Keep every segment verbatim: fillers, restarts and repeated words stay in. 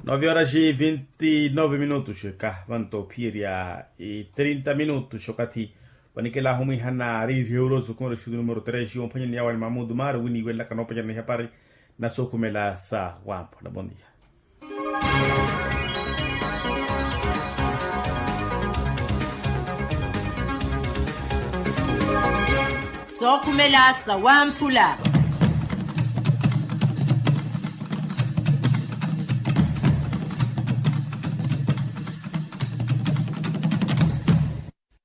Nove horas e vinte e nove minutos eka vanto ophiyerya e trinta minutos okathi. Vanikela ahumwihana ari rio roso conrexudo numero tres omphwanyani yawa ni mamudu mari winiwelaka noopanyana ihapari na sookhumela sa wamphula bondia. Sookhumela sa wamphula.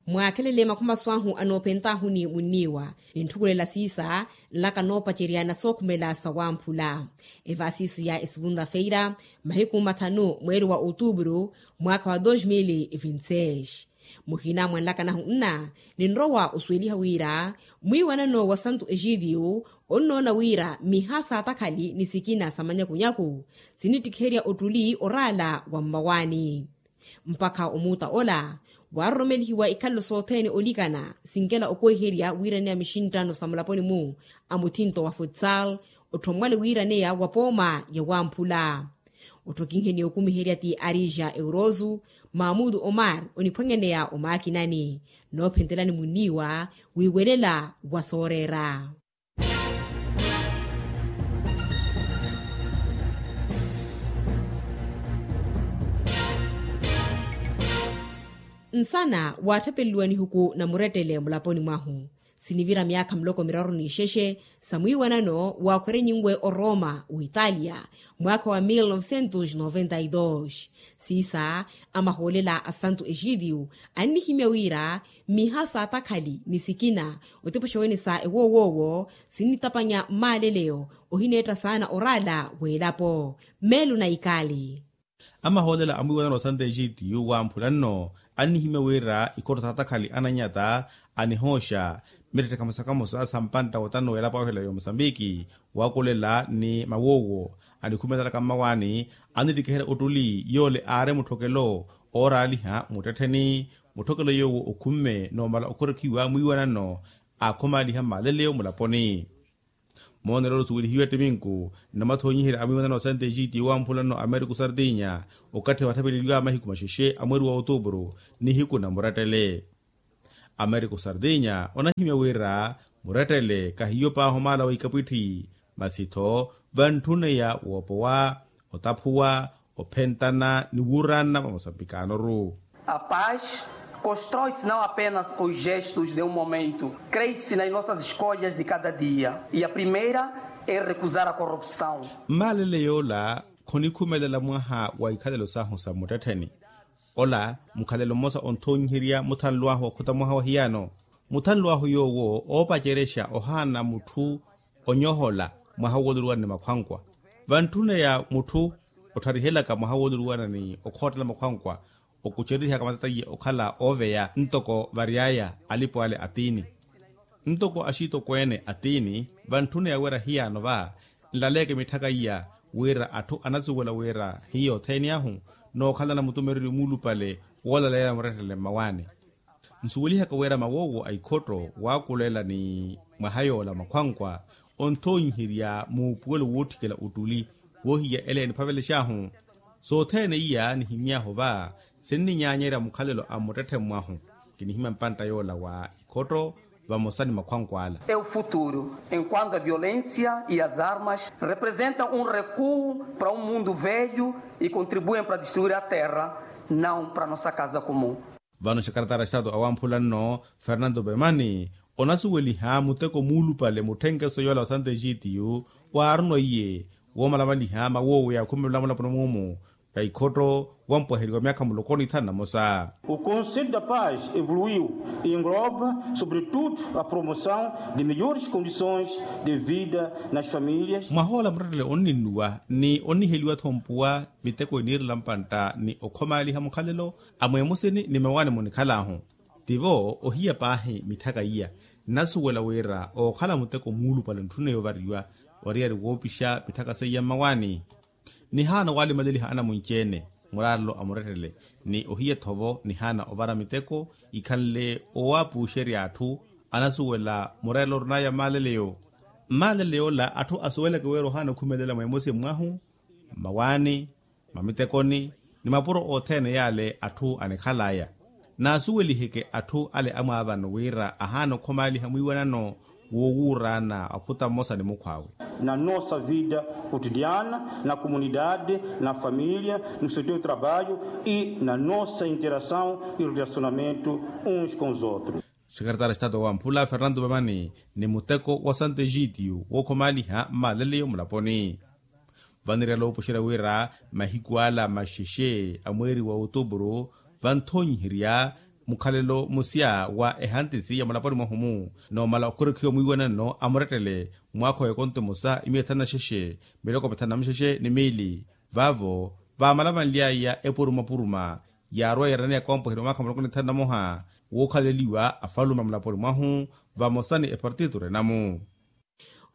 Mwaakhelele makhumaso ahu anoophent'ahu ni munniiwa, nintthukhulela siisa nlaka noopacerya na sookhumela sa wamphula. Evaasiiso ya esugunta feira, mahiku mathanu mweeri wa otuupuru, mwaakha wa dos mil e vinte seis. Muhina mwa nlaka nahu nna, ninrowa osuweliha wira mwiiwanano wa santu exitiyu onnoona wira miha saatakhali ni sikina sa manyakunyaku sinittikherya ottuli oraala wa mmawaani. Mpakha omuuta ola, waaroromelihiwa ikhalelo sothene olikana sinkela okweherya wiiraneya mixinttano sa mulaponi-mu a muthinto wa futsal, otthommwale wiiraneya wa pooma ya wamphula. Otthokinheni okumiherya ti arija eurosu, mamudu omar oniphwanyaneya omaakinani noophentelani munniiwa wiiwelela wa sooreera. Nsana waatthapeleliwa nihuku na murettele mulaponi mwahu. Sinivira myaakha muloko miraru n'ixexe sa mwiiwanano waakhwerenyiwe oroma witalia mwaakha wa mil novecentos noventa e dos. Siisa, amahoolela a santu exitiyu annihimya wira miha saatakhali ni sikina otipoxa wenesa ewoowoowo sinnitapanya mmaaleleyo ohineetta saana oraala w'elapo. Meelo na ikali. Amahoolela a mwiiwanano wa santu exitiyu wamphula nno annihimya wira ikhotto saatakhali ananyata anihooxa miretthe kamosa kamosa sa mpantta wotano w'elapo aweela ya omusambiki, waakulela ni mawoowo anikhumetalaka mmawaani, anittikiherya ottuli yoole aari mutthokelo ooraaliha muttettheni. Mutthokelo yoowo okhumme noomala okhurekhiwa mwiiwanano aakhumaaliha mmaaleleyo mulaponi. Moonelo osuwelihiwe ttiminku namathonyiherya a mwiiwanano wa santu exitiyu wamphula nno americo sardinya, okathi waatthapeleliwa mahiku maxexe a mweeri wa otuupuru nihiku na murettele. Americo sardinya onahimya wira murettele kahiyo paahi omaala wa ikapwitthi, masi-tho vantthuneya woopowa, otaphuwa, ophentana ni wuurana vamosa mpikaano-ru. A paz constrói-se não apenas com os gestos de um momento, crê-se nas nossas escolhas de cada dia. E a primeira é recusar a corrupção. Mmaalele yoola khonikhumelela mwaha wa ikhalelo sahu sa mmuttettheni. Ola mukhalelo mmosa onthonyiherya muthanlu ahu okhota mwaha wa hiyano. Muthanlu ahu yoowo oopacerexa ohaana mutthu onyohola mwaha wooluruwana ni makhwankwa. Vantthuneya mutthu ottharihelaka mwaha wooluruwana ni okhoottela makhwankwa, okucererihaka matata iye okhala ooveya ntoko vary'aya alipo ale a tiini. Ntoko axitokweene a tiini, vantthuneya wira hiyano va nlaleke mitthaka iya wira atthu anasuwela wira hiyo othene ahu nookhalana mutumereryo muulupale woolaleela murettele mmawaani. Nsuwelihaka wira mawoowo a ikhotto waakulela ni mwaha yoola makhwankwa onthonyiherya muupuwelo wootthikela ottuli woohiya ele eniphavelex'ahu. Sothene iya nihimy'ahu va sinninyaanyerya mukhalelo a mmuttetthe mwahu. Kinihimya mpantta yoola wa ikhotto vamosa ni makhwankwa ala. É o futuro, enquanto a violência e as armas representam um recuo para um mundo velho e contribuem para destruir a terra, não para nossa casa comum. Vano xakaratara xitato awamphula nno fernando pemani onasuweliha muteko muulupale mutthenkeso yoola wa santo exitiyu waarunwa iye woomalamaliha mawoowo yaakhumelwa mulaponi muumu ya ikhotto wampwaheriwa myaakha muloko ni thanu na mosa. O conselho da paz evoluiu e engloba sobretudo a promoção de melhores condições de vida nas famílias. Mwahoola muttettele onninnuwa ni onniheliwa-tho mpuwa miteko eniirela mpantta ni okhomaaliha mukhalelo a mweemusini ni mawaani munikhal'ahu. Tivo ohiya paahi mitthaka iya nnasuwela wira ookhala muteko muulupale ntthune yoovariwa oriyari woopixa mitthaka seiya mmawaani. Nihaana owalimalieliha anamunci-ene mulaarelo a murettele ni ohiya-tho vo nihaana ovara miteko ikhanle owaapuuxerya atthu anasuwela murettele orinaya mmaaleleyo. Mmaaleleyo ola atthu asuwelaka wira ohaana okhumelela mweemosi mwahu mmawaani. Mamitekoni ni mapuro othene yale atthu anikhalaya, naasuweliheke atthu ale amwaavano wira ahaana okhomaaliha mwiiwanano woowuuraana ophuta mmosa ni mukhw'awe. Na nossa vida cotidiana na comunidade na família no setor trabalho e na nossa interação e relacionamento uns com os outros. Sekeretari a estado wamphula fernando mamani ni muteko wa santo egitio wookhomaaliha mmalaleyo mulaponi. Vanirela oopuxerya wira mahiku ala maxexe a mweeri wa otupuru vanthonyiherya mukhalelo musya wa ehantisi ya mulaponi mwahu-mu, noomala okhurikhiwa mwiiwanano a murettele mwaakha wa ekonto emosa imiya thanu na xexe miloko mithanu na muxexe ni miili. Vaavo vaamalavanly'aya epurumapuruma yaarwa yeeraneya kompoheriwa mwaakha muloko ni thanu na moha wookhaleliwa afalume a mulaponi mwahu vamosa ni epartitu renamu.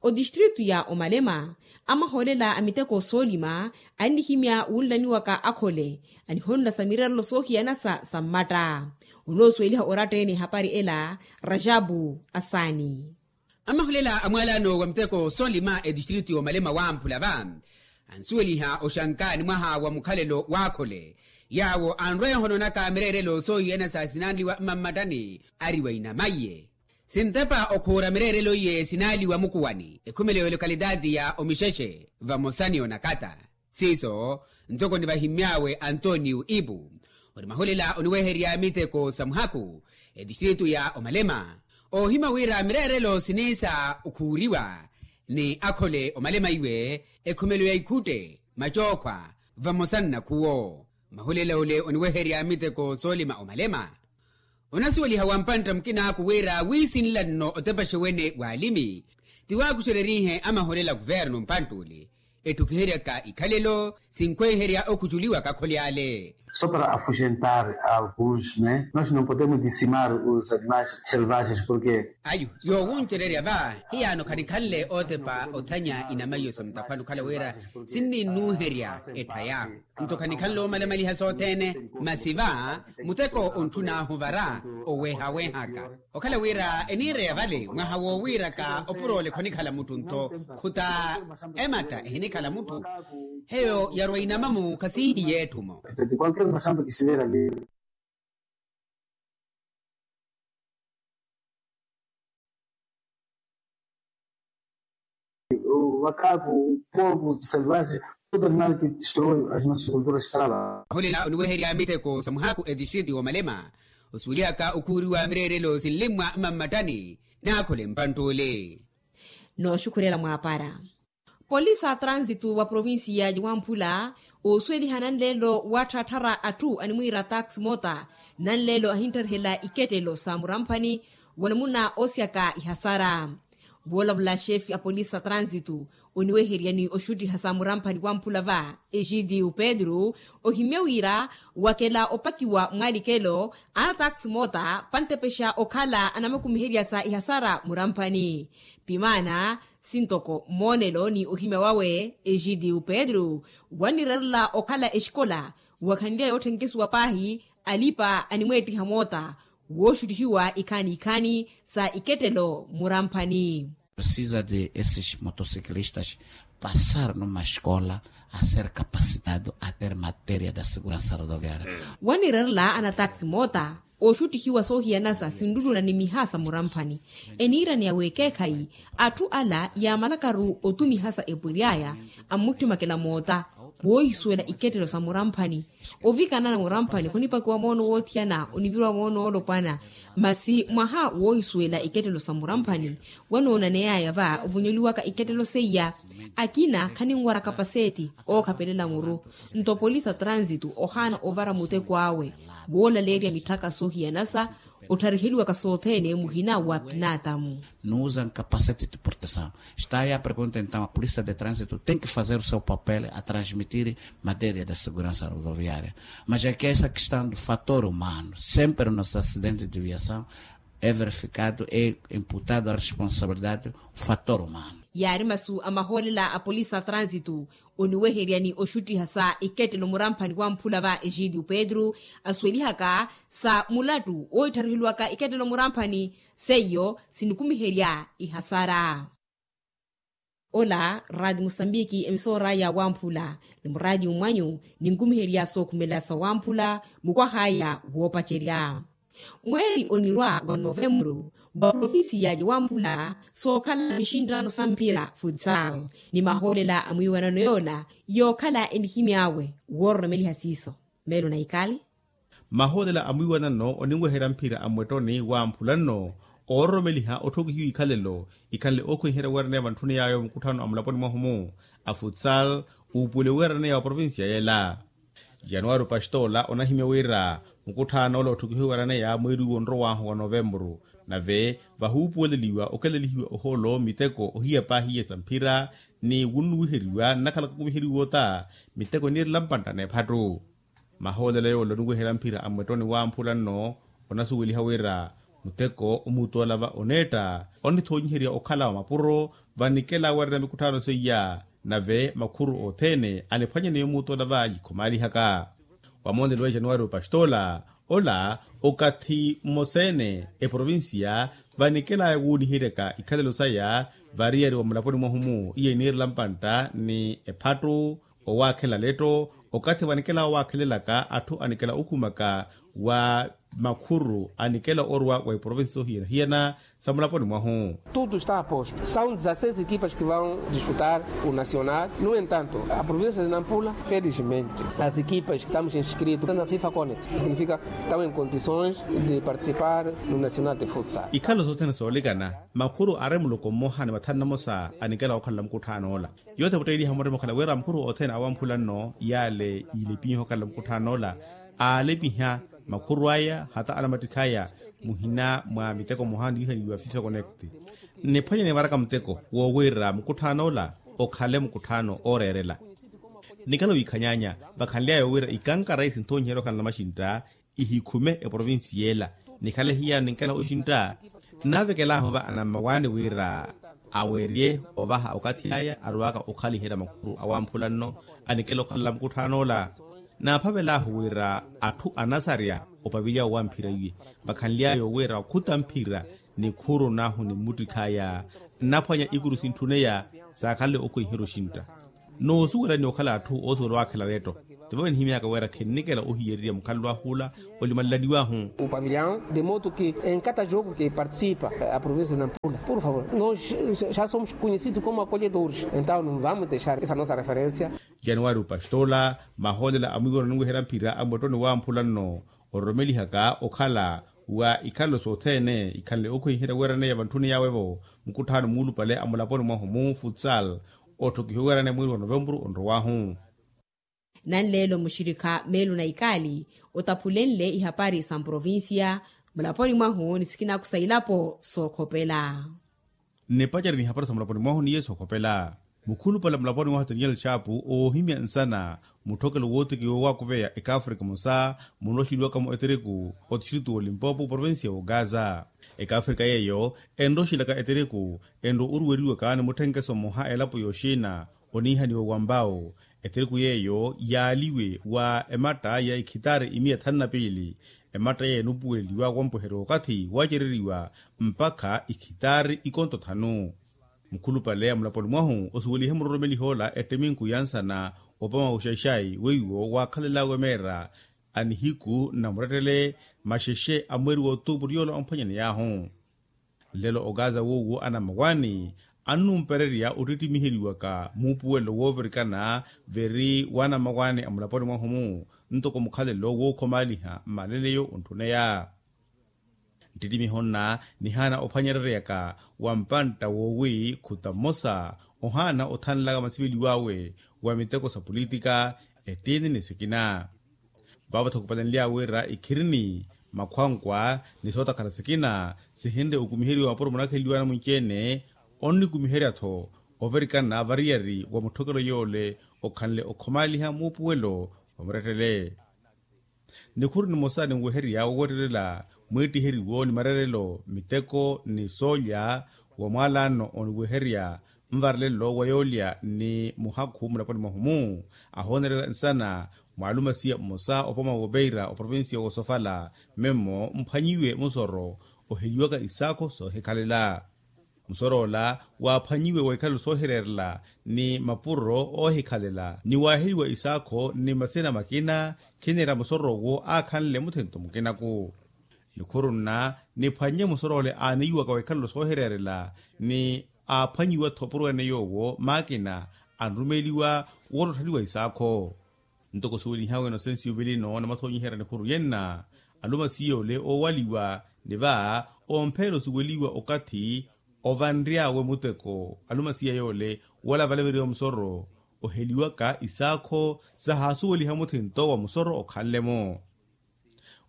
Otistritu ya omalema amahoolela a miteko soolima annihimya wunlaniwaka akhole anihonlasa mireerelo soohiyanasa sa mmatta. Onoosuweliha oratta-ene ehapari ela rajabu asaani. Amahoolela a mwaalano wa miteko soolima etistritu ya omalema wamphula va ansuweliha oxanka ni mwaha wa mukhalelo w'akhole yaawo anrweeha onoonaka mireerelo soohiyanasa sinanliwa mmammattani ari wa inamaiye. Sintepa okhuura mireerelo iye sinaaliwa mukuwani ekhumelo ya olokalitaati ya omixexe vamosa ni onakata. Siiso ntoko nivahimmy'awe antonio ipu ori mahulela oniweherya miteko sa muhaku etistritu ya omalema oohimya wira mireerelo siniisa okhuuriwa ni akhole omalema iwe ekhumelo ya ikhutte macookhwa vamosa nnakhuwo. Mahulela ole oniweherya miteko soolima omalema onasuweliha wa mpantta mukinaaku wira wiisinla nno otepaxe wene w'alimi ti waakuxererihe amaholela kuvernu mpantta ole etthukiheryaka ikhalelo sinkhweiherya okhuculiwaka khole ale. Só para afugentar alguns né nós não podemos dizimar os animais selvagens porque ayu yoowuncererya va hiyaano khanikhanle ootepa othanya inamaiyo sa mutakhwani okhala wira sinninnuuherya etthaya. Nto khanikhanle omalamaliha sothene masi va muteko ontthun'ahu vara oweehawehaka okhala wira eniireya vale mwaha woowiiraka opuro ole khonikhala mutthu ntho khuta ematta ehinikhala mutthu heyo yarwa inamamu khasihiye etthumo. Vakhaku porku selvage tudo animal ki destrói as nossas culturas estrada. Ohulela oniweherya miteko sa muhaku etistriti woomalema osuwelihaka okhuuriwa mireerelo sinlimmwa mmammattani naakhole mpantt'ole. Nooxukhurela mwaapara polisi a transitu wa provincia ya wamphula oosuweliha nanleelo watthaatthara atthu animwiira taxi mota nanleelo ahinttarihela ikettelo sa muramphani wa namuna oosyaka ihasara. Voolavula xefi a polisi a transitu oniweheryani oxuttiha sa muramphani wamphula va egidio pedro ohimya wira wakela opakiwa mwaalikelo ana taxi mota pantepexa okhala anamakumiherya sa ihasara muramphani. Pimaana sintoko mmoonelo ni ohimya wawe egidio pedro wanirerela okhala exikola wakhanly'aya otthenkesuwa paahi alipa animweettiha moota wooxuttihiwa ikhaani ikhaani sa ikettelo muramphani. Precisa de esses motociclistas passar numa escola a ser capacitado a ter matéria da segurança rodoviária. Wanirerela ana taxi moota ooxuttihiwa soohiyanasa sinluluna ni miha sa muramphani eniiraneya w'ekeekhayi atthu ala yaamalakaru otumiha sa epwery'aya ammuttimakela moota woohisuwela ikettelo sa muramphani ovikanana muramphani khunipakiwa moono woothiyana oniviriwa moono woolopwana. Masi mwaha woohisuwela ikettelo sa muramphani wanoonaney'aya va ovonyoliwaka ikettelo seiya akina khaninwara kapaseti ookhapelela muru. Nto polisi a transitu ohaana ovara muteko awe woolaleerya mitthaka soohiyanasa othariheliwaka sothene muhina wa pinaatamu. Não usam capacete de proteção. Está aí a pergunta então a polícia de trânsito tem que fazer o seu papel a transmitir matéria da segurança rodoviária. Mas é que essa questão do fator humano sempre nos acidentes de viação é verificado e imputado a responsabilidade o fator humano. Yaari masu a mahoolela a polisi a transitu oniweheryani oxuttiha sa ikettelo muramphani wamphula va egidio pedro asuwelihaka sa mulattu ooitthariheliwaka ikettelo muramphani seiyo sinikumiherya ihasara. Ola raati musambiki emisoor'aya wamphula ni muraati mmwanyu, ninkumiherya sookhumela sawamphula mukwah'aya woopacerya. Mweeri onirwa wa novembru, wa provinsi ya wamphula sookhala mixinttano sa mphira futsal, ni mahoolela a mwiiwanano yoola yookhala enihimy'awe woororomeliha siiso. Meelo na ikali. Mahoolela a mwiiwanano oninweherya mphira a mmwettoni wamphula nno oororomeliha otthokihiwa ikhalelo ikhanle ookhwenherya weeraneya vantthuni yaayo mukutthaano a mulaponi mwahu-mu a futsal, uupuwele weeraneya wa provinsiya yela. Januwari opastoola onahimya wira mukutthaan'ola otthokihiwa weeraneya mweeri uwo onrow'ahu wa novembru, nave vahuupuweleliwa okelelihiwa ohoolo miteko ohiya paahi iye sa mphira, ni wunnuwiheriwa nnakhala kakumiheriwa ota miteko eniirela mpantta n'ephattu. Mahoolela yoola oniweherya mphira a mmwettoni wamphula nno onasuweliha wira muteko omuutola va oneetta onithoonyiherya okhala wa mapuro vanikela weerana mikutthaano seiya, nave makhuru othene aniphwanyaneya omuutola va yikhomaalihaka. Wamoonelo wa januwari opastoola ola okathi mmosa-ene eprovinsiya vanikel'aya wuuniheryaka ikhalelo saya variyari wa mulaponi mwahu-mu iye eniirela mpantta ni ephattu, owaakhela letto okathi vanikela owaakhelelaka atthu anikela okhumaka wa makhuru anikela orwa wa iprovinsi sohiyana-hiyana sa mulaponi mwahu. Tudo está aposto. São dezasseis equipas que vão disputar o nacional. No entanto, a província de Nampula, felizmente, as equipas que estamos inscritos na fifa connect significa que estão em condições de participar no nacional de futsal. Ikhalo sothene soolikana makhuru ari muloko mmoha ni mathanu namosa anikela okhalela mukutthaano ola. Yoothe votteeliha murima okhala wira makhuru othene awamphula nno yaale yiilepiha okhala mukutthaano ola aalepiha makhuru aya hata anamattikhi aya muhina mwa miteko mmoha niihaliwa fifa connect. Nniphwanye nivaraka muteko woowira mukutthaano ola okhale mukutthaano ooreerela. Nikhala wiikhanyaanya vakhanly'aya wira ikankara isinthonyiherya okhala namaxintta ihikhume eprovinsi yeela. Nikhale hiyani nkela oxintta naavekelaahu va anammawaani wira awerye ovaha okathi aya arwaka okhaliherya makhuru awamphula nno anikela okhalela mukutthaano ola. Naaphavelaahu wira atthu anasarya opavilya owamphira iye vakhanly'aya owira okhuta mphira nikhuru nahu ni mmuttikhi aya nnaphwanya ikuru sintthuneya saakhanle okhwenherya oxintta. Noosuwela ni okhala atthu oosuwela owaakhela letto tivo enihimyaka wira khennikela ohiyererya mukhalelo ahula olimanlaniwahu. O pavilhão de modo que em cada jogo que participa a província de Nampula por favor nós já somos conhecidos como acolhedores então não vamos deixar essa nossa referência. Januwari opastoola mahoolela a mwiiwano oniweherya mphira a mmwettoni wamphula nno ororomelihaka okhala wa ikhalelo sothene ikhanle okhwenherya weeraneya vantthuni yaawe-vo mukutthaano muulupale a mulaponi mwahu mu futsal otthokihiwa weeraneya mweeri wa novembru onrow'ahu. Nanleelo muxirikha meelo na ikaali otaphulenle ihapari sa mprovinsiya mulaponi mwahu ni sikinaku sa ilapo sookhopela. Nnipacari n'ihapari sa mulaponi mwahu ni yesu okhopela mukhulupale mulaponi mwahu daniel chapu oohimya nsana mutthokelo wootikiwa owaakuveya ekaafrika emosa munroxeliwaka-mo eteriku otistritu w'olimpopo provinsiya w'ogaza. Ekaafrika yeeyo enroxelaka eteriku enro oruweriwaka ni mutthenkeso mmoha elapo y'oxina oniihaniwa wa mbawu. Eteriku yeeyo yaaliwe wa ematta ya ikhitaari imiya thanu na piili. Ematta yeeyo enupuweleliwa wampuherya okathi waacereriwa mpakha ikhitaari ikonto thanu. Mukhulupale a mulaponi mwahu osuwelihe muroromeliha ola etteminku ya nsana opama oxaxai weiwo waakhalel'awe meera a nihiku nna murettele maxexe a mweeri wa otuupuru yoola omphwanyaney'ahu. Nlelo okaza woowo anammawaani annumpererya ottittimiheryiwaka muupuwelo woovirikana viri w'anammawaani a mulaponi mwahu-mu ntoko mukhalelo wookhomaaliha mmaleleyo ontthuneya. Nttittimiho nna nihaana ophwanyereryaka wa mpantta woowi khuta mmosa ohaana othanlaka masiveliw'awe wa miteko sa politika ettiini ni sikina. Vaavo-tho khupalenly'awe wira ikhirini makhwankwa ni sootakhala sikina sihinre okumiheriwa mapuro munakhenliwa anamwinci-ene onnikumiherya-tho ovirikana variyari wa mutthokelo yoole okhanle okhomaaliha muupuwelo wa murettele. Nikhuru nimosa ninweherya wowettelela mwiittiheriwo ni marerelo miteko ni soolya wa mwaalaano oniweherya nvarelelo wa yoolya ni muhakhu mulaponi mwahu-mu ahoonelela nsana mwaalumasiya mmosa opoma w'opeira oprovinsiya w'osofala memmo mphwanyiwe musoro oheliwaka isaakho soohikhalela. Musoroola waaphwanyiwe wa ikhalo soohireerela ni mapuro oohikhalela ni waaheliwa isaakho ni masina makina, khiniira musoroowo aakhanle muthinto mukinaku. Nikhuru nna niphwannye musoroola aaniiwaka wa ikhalo soohireerela ni aaphwanyiwa-tho opuro ene yoowo maakina anrumeliwa woottottaliwa isaakho. Ntoko suwelihawe inosensi yuvelino na mathoonyiherya nikhuru yenna, alumasiya ole oowaliwa ni va ompheela osuweliwa okathi ovanry'awe muteko alumasiya yoole wala valaveriwa musoro oheliwaka isaakho sahaasuweliha muthinto wa musoro okhanle-mo.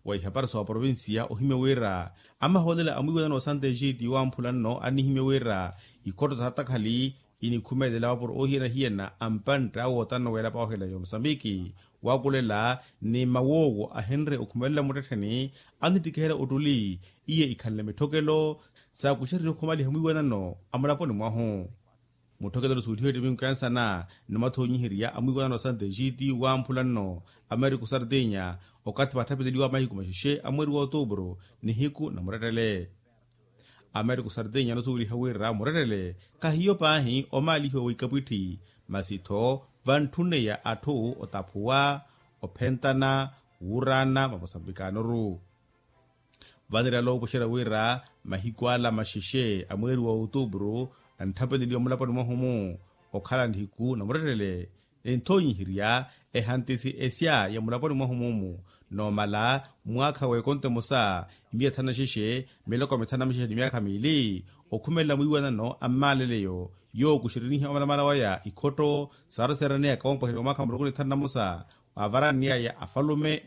Wa ihapari sa oprovinsiya ohimya wira amahoolela a mwiiwanano wa santa egiti waamphula nno annihimya wira ikhotto sa takhali inikhumelela mapuro oohiyana-hiyana a mpantte awo otanno weelapa oohela ya omusambiki waakulela ni mawoowo ahenre okhumelela muttettheni annittikiherya ottuli iye ikhanle mitthokelo saakuxererya okhumaliha mwiiwanano a mulaponi mwahu. Mutthokelo osuwelihiwe ettiminku ya nsana ni mathoonyiherya a mwiiwanano wa santa egiti waamphula nno ameriku sartinya okathi vaatthapeleliwa mahiku maxexe a mweri wa otuupuru nihiku na murettele. Ameriku sartinya anosuweliha wira murettele khahiyo paahi omaalihiwa wa ikapwitthi masi-tho vantthuneya atthu otaphuwa ophentana wuurana vamusambikaanoru. Vanirala oopuxerya wira mahiku ala maxexe a mweri wa otuupuru antthapeleliwa mulaponi mwahu-mu okhala nihiku na murettele. Ninthoonyiherya ehantisi esya ya mulaponi mwahu-mu-mu noomala mwaakha w'ekonto emosa imiya thanu na xexe miloko mithanu na mixexe ni myaakha miili okhumelela mwiiwanano a mmaaleleyo yookuxeriniha omalamala waya ikhotto saaroseeraneyaka woompwaheliwa mwaakha muloko ni thanu na mosa. Waavaraniyaya afalume